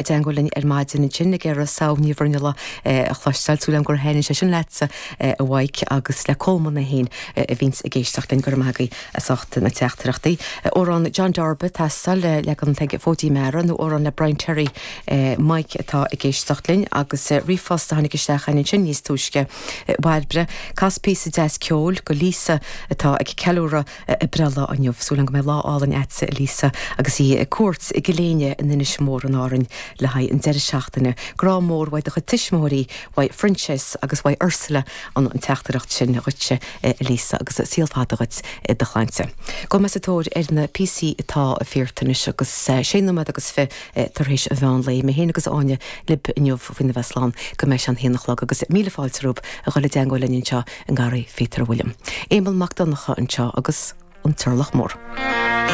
I dteangmháil linn ar maidin ansin ag iarraidh Sadhbh Ní Bhruinnealla a chloisteáil. Súil agam gur thaitnigh sé sin leatsa, a Mhaidhc, agus le Colmán é féin a bhíonns ag éisteacht linn. Go raibh maith agaibh as ucht na teachtaireachtaí. Amhrán John Darba ag teastáil, leagan ag Fóidín Meara nó amhrán le Brian Terry, Mike atá ag éisteacht linn agus ríomhphost a tháinig isteach againn ansin níos túisce. A Bhairbre, cas píosa deas ceoil go Lisa atá ag ceiliúradh a breithlá inniu. Súil agam go mbeidh lá álainn a'dsa, a Lisa, agus í ag cuairt i gCill Éinne in Inis Mór in Árainn le haghaidh an deireadh seachtaine. Grá mór uaidh do chuid tuismitheoirí, uaidh Phroinsias agus uaidh Ursula an teachtaireacht sin dhuitse, a Lisa, agus saol fada dhuit i do chlainnse. Gabhfaidh mé sa tóir ar na píosaí atá fíorta anois agus sé nóiméad agus fi tar éis an mheán lae. Mé féin agus Áine libh inniu faoina bheith slán go mbeidh sé an haon a chlog agus míle fáilte romhaibh a dhul i dteangmháil linn anseo i nGarraí Phíotair William. Éamonn Mac Donncha anseo agus An Turlach Mór.